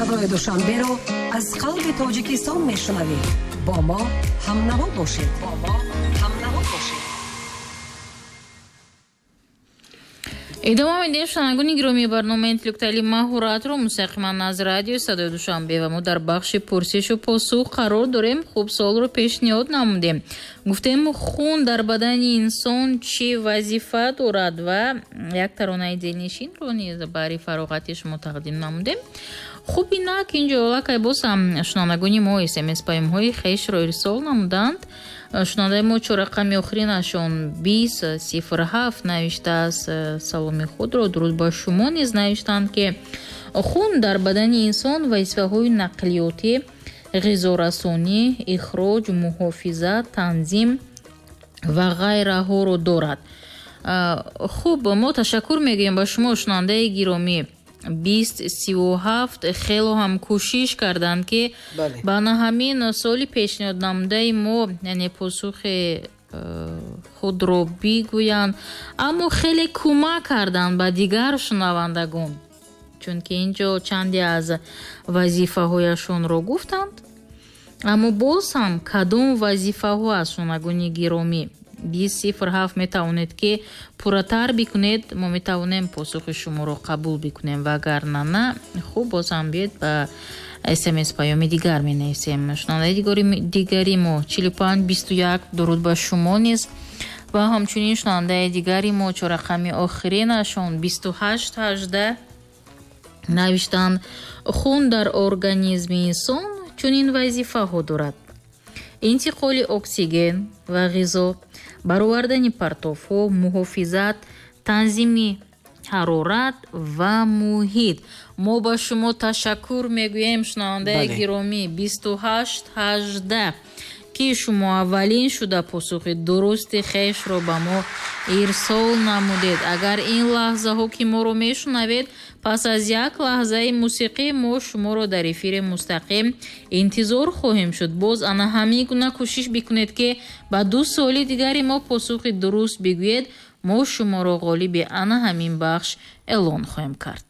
Садои Душанберо аз қалби Тоҷикистон мешунавед. Бо мо ҳамнаво бошед. Бо мо ҳамнаво бошед. Идома медиҳем, шунавандагони гиромии, барномаи интеллектуалии маҳоратро мустақиман аз радиои Садои Душанбе ва мо дар бахши пурсишу посух қарор дорем. Хуб, суолро пешниҳод намудем. Гуфтем, хун дар бадани инсон чӣ вазифа дорад ва як таронаи дилнишинро низ барои фароғати шумо тақдим намудем. Хуб, инак инҷо аллакай боз ҳам шунавандагони мо СМС паёмҳои хешро ирсол намуданд. Шунавандаи мо чорақами охиринашон 2007 навиштааст саломи худро. Дуруд ба шумо низ навиштанд, ки хун дар бадани инсон вазифаҳои нақлиётӣ, ғизорасонӣ, ихроҷ, муҳофизат, танзим ва ғайраҳоро дорад. Хуб, мо ташаккур мегӯем ба шумо, шунавандаи гиромӣ. 2037 хело ҳам кӯшиш карданд, ки ба на ҳамин суоли пешниҳод намудаи мо, яъне посухи худро бигӯянд, аммо хеле кӯмак карданд ба дигар шунавандагон, чунки инҷо чанде аз вазифаҳояшонро гуфтанд. Аммо боз ҳам кадом вазифаҳо аз, шунавандагони гиромӣ? 2007 метавонед, ки пурратар бикунед, мо метавонем посухи шуморо қабул бикунем ва агар на, хуб, боз ҳам биёед, ба СМС паёми дигар менависем. Шунавандаи дигари мо 4521, дуруд ба шумо низ ва ҳамчунин шунавандаи дигари мо чорақами охиринашон 2818 навиштанд: хун дар организми инсон чунин вазифаҳо дорад: интиқоли оксиген ва ғизо, баровардани партовҳо, муҳофизат, танзими ҳарорат ва муҳит. Мо ба шумо ташаккур мегӯем, шунавандаи гиромӣ 2818, ки шумо аввалин шуда посухи дурусти хешро ба мо ирсол намудед. Агар ин лаҳзаҳо ки моро мешунавед, пас аз як лаҳзаи мусиқӣ мо шуморо дар эфири мустақим интизор хоҳем шуд. Боз ана ҳамин гуна кӯшиш бикунед, ки ба ду суоли дигари мо посухи дуруст бигӯед. Мо шуморо ғолиби ана ҳамин бахш эълон хоҳем кард.